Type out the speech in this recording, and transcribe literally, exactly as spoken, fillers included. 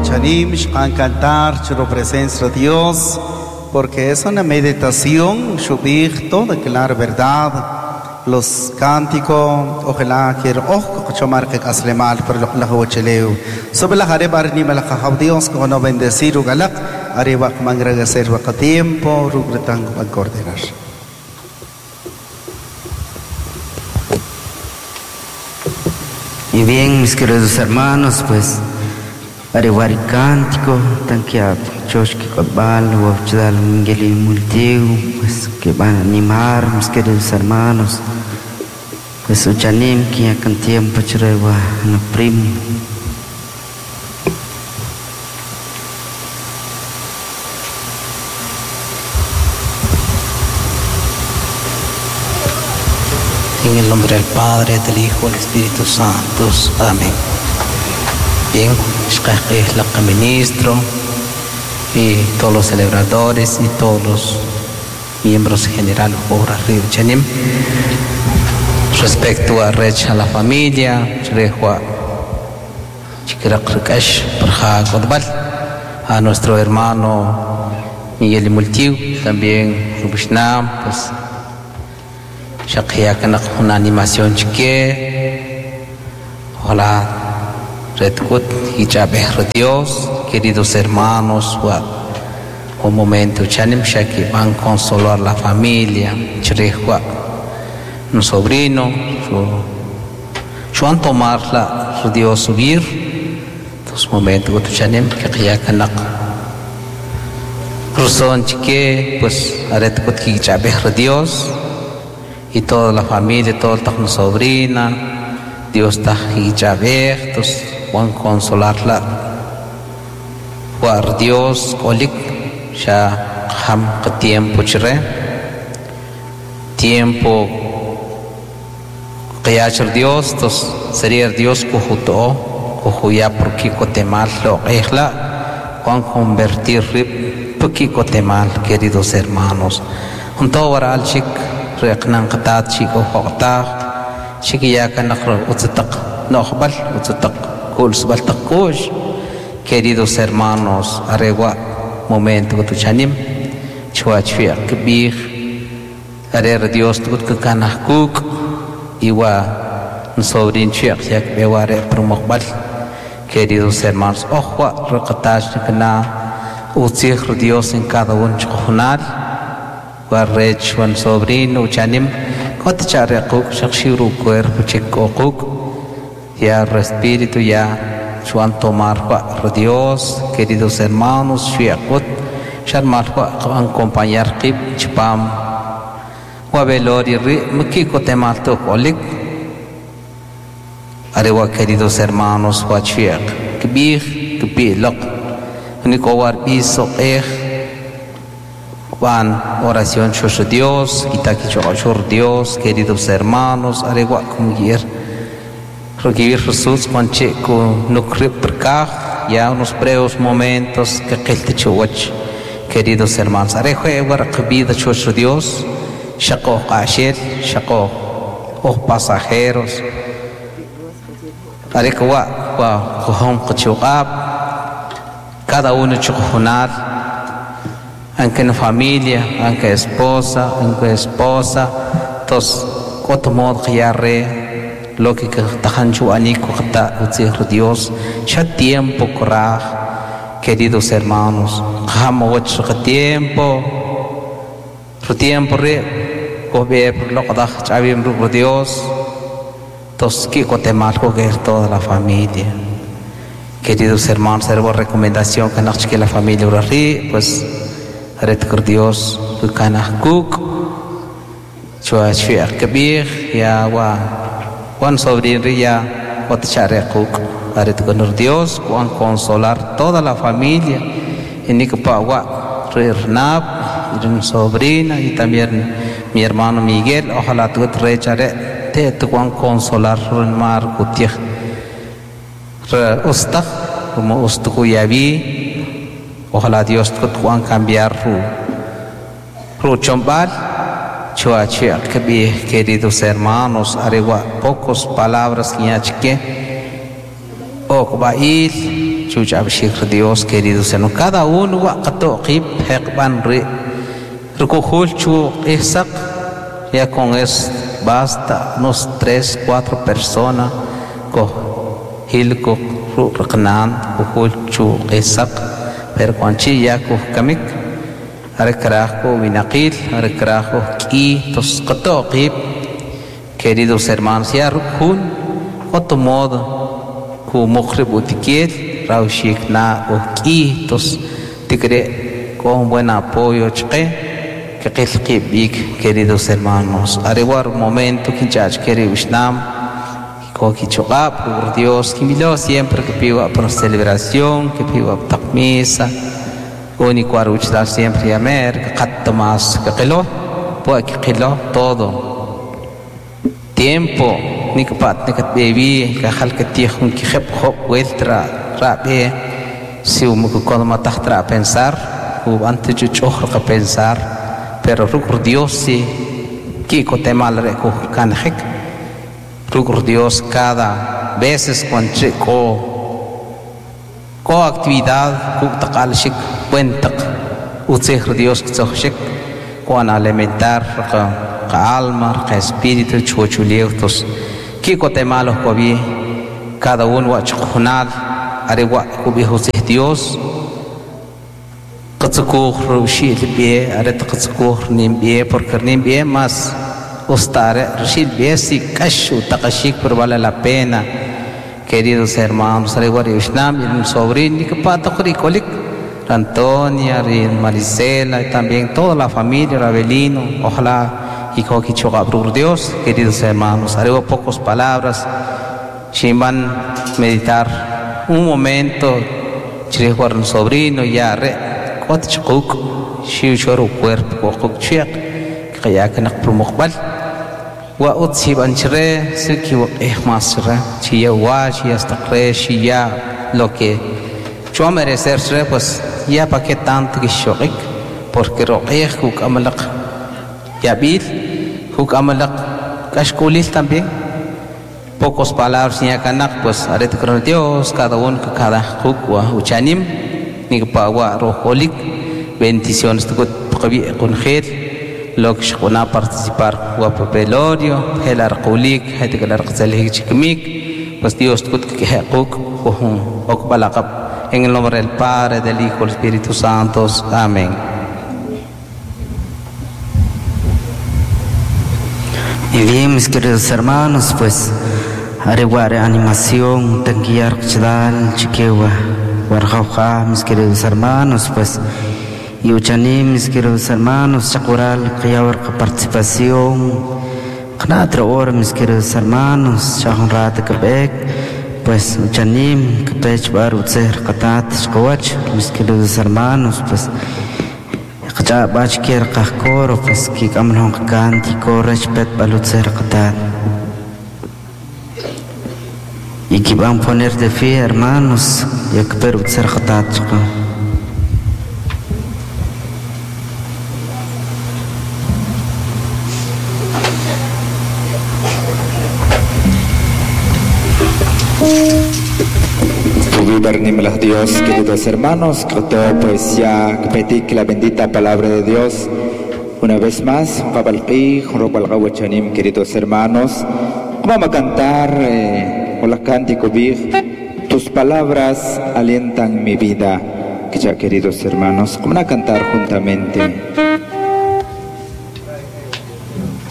Chanim, cantar su presencia de Dios, porque es una meditación, shubij, toda clara verdad, los cánticos, ojalá que ojo chomar que aslemal por lo la huacheleu. Sobre la jareba ni malaja Dios con no bendecir ugalak, arriba mangradecer vaca tiempo, rugretan van coordinar. Y bien, mis queridos hermanos, pues Arewari cántico, tanque choshki kotbal, wachdal mingeli multiu, pues que van a animar, mis queridos hermanos, pues uchanim que ya con tiempo chrewa no primo. En el nombre del Padre, del Hijo, del Espíritu Santo. Amén. Bien, la ministro y todos los celebradores y todos los miembros generales por arriba Chanim. Respecto a Rech a la familia, a nuestro hermano Miguel Multiu, también Rubishnam, pues una animación chique. Ojalá Redkut y Dios, queridos hermanos, un momento chanim shaki van consolar la familia, chrejua, un sobrino, su chuan tomar la su Dios subir, dos momentos chanim que ya kanak Ruson chique, pues aretkut y Dios y toda la familia, toda la sobrina, Dios está y Juan consolarla Juan Dios olik ya ham tiempo chre tiempo que Dios tos sería Dios kujuto kujuya porque kotemal lo ejla Juan convertir porque kotemal queridos hermanos junto waral chik reqnan qatat chico joqta chiquiya kanaqro utstaq noqbal utstaq queridos hermanos, aregua momento que tuchanim, chuachfia kbij, arer Dios tut kanahkuk, iwa sobrin chiak yak beware promokbal, queridos hermanos, ojua recatash kana utzij Dios en cada uno chojunal, warrech wan sobrino uchanim, kotcharequk shakshiru cuerpo chikokuk. Ya el espíritu ya Juan tomar Dios, queridos hermanos, shiakut, sharmal acompañar kip chpam, wabelori ri mkiko temalto kolik, arewa queridos hermanos, wachiak, kbij, kbilok, nikowar biso ej, van oración chosho Dios, kitaki choshor Dios, queridos hermanos, arewa kumgir. Recibir Jesús con chico no ya unos breves momentos que chuach queridos hermanos arejo vida chucho Dios shako qashir shako o pasajeros arejo wa kohom qchuqab cada uno chujunar aunque en familia aunque esposa aunque esposa tos kotomod khiyarre lo que tajanchu aniko kata utzir Dios ya tiempo coraj queridos hermanos jamo tiempo su tiempo re cobe por lo que chavim Dios tos que cotemalco que toda la familia queridos hermanos servo recomendación que nos que la familia uri pues ret Dios kanahkuk chua chua kabir ya wa Juan sobrino ya otcharequk aret con Dios Juan consolar toda la familia en Nicopawa Rirnab y sobrina y también mi hermano Miguel ojalá tu rechare te tu Juan consolar mar kutih ustak como ustukuyabi ojalá Dios tu Juan cambiar ru ru chombal queridos hermanos, aregua pocos palabras que Okba'il chuch'ab'xik Dios, queridos hermanos, cada uno wa qato'qib jeqb'an ri' rukujul chu q'ijsaq, ya con eso basta unos tres, cuatro personas ko hilko rqnan kujul chu q'ijsaq, pero cuando chi ya kujkamik are kraj ko winaqil are kraj ko k'i tos qato'qib, queridos hermanos, ya rukjun otro modo ku muqrib utikiel rawxik na ujk'i tos tikre con buen apoyo chqe que qilqib bik, queridos hermanos, arewar momento kinchach querido ishnam ko kichuqab por Dios kimilo siempre que pido por celebración que pido taq misa único aruchdal siempre yamer qat más que qilo po que qilo todo tiempo nikpat nikat baby ka khal que tijun ki kheb khob weltra rabe si um ko ma taxtra pensar u antes chuchoj ka pensar pero rukur Dios si kiko temal re ko kanjek rukur Dios cada veces cuando ko ko actividad ku taqal shik cuentak utsej Dios ktsojshik kuan alimentar ka ka alma ka espíritu chuchulieutos kiko temalos kobi cada uno wa chujunal arewa kubi utsej Dios qatsukuj rushil bie aret qatsukuj nim bie porque nim bie más ostare rushil bie si kashu taqashik pero vale la pena, queridos hermanos, arewa ishnam y un sobrino que pato kolik Antonia y Marisela y también toda la familia Rabelino, ojalá y kokichuga Dios, queridos hermanos, arewa pocas palabras shimban meditar un momento chirijuar un sobrino ya re kot chquk xiu choru cuerpo qoq chiaq qaya kanaq prumuqbal wa utsi banchre suki wa mas re chiya wa chiya hasta chiya lo que yo merecerse pues ya pa qué tanto que shoqik porque roqej kuk amalaq yabil kuk amalaq kashkulil también pocos palabras ni kanak pues aret con Dios cada uno cada kuk wa uchanim ni pa wa rojolik bendiciones tukut qabi qunjil lo que xquna participar wa velorio hel arqulik hatik arqzalhik chikmik pues Dios tukut kehquk ujun okbalaqab en el nombre del Padre, del Hijo, del Espíritu Santo. Amén. Y bien, mis queridos hermanos, pues areguare animación tanquillar chdal chiquewa warjauja, mis queridos hermanos, pues y uchanim, mis queridos hermanos, chacural qiyawar participación qnatra hora, mis queridos hermanos, chajun rata kabek, pues uchanim kpech bar utser qatat shqawach, mis queridos hermanos, pues qacha bach kier qajkoro, pues kikamlon cántico respet balutser qatat. Y que van a poner de fe, hermanos, y que per utser qatat shqa. Dios, queridos hermanos, que todo pues ya petik la bendita palabra de Dios. Una vez más, queridos hermanos, vamos a cantar eh, con la cántico big, tus palabras alientan mi vida. Ya, queridos hermanos, vamos a cantar juntamente.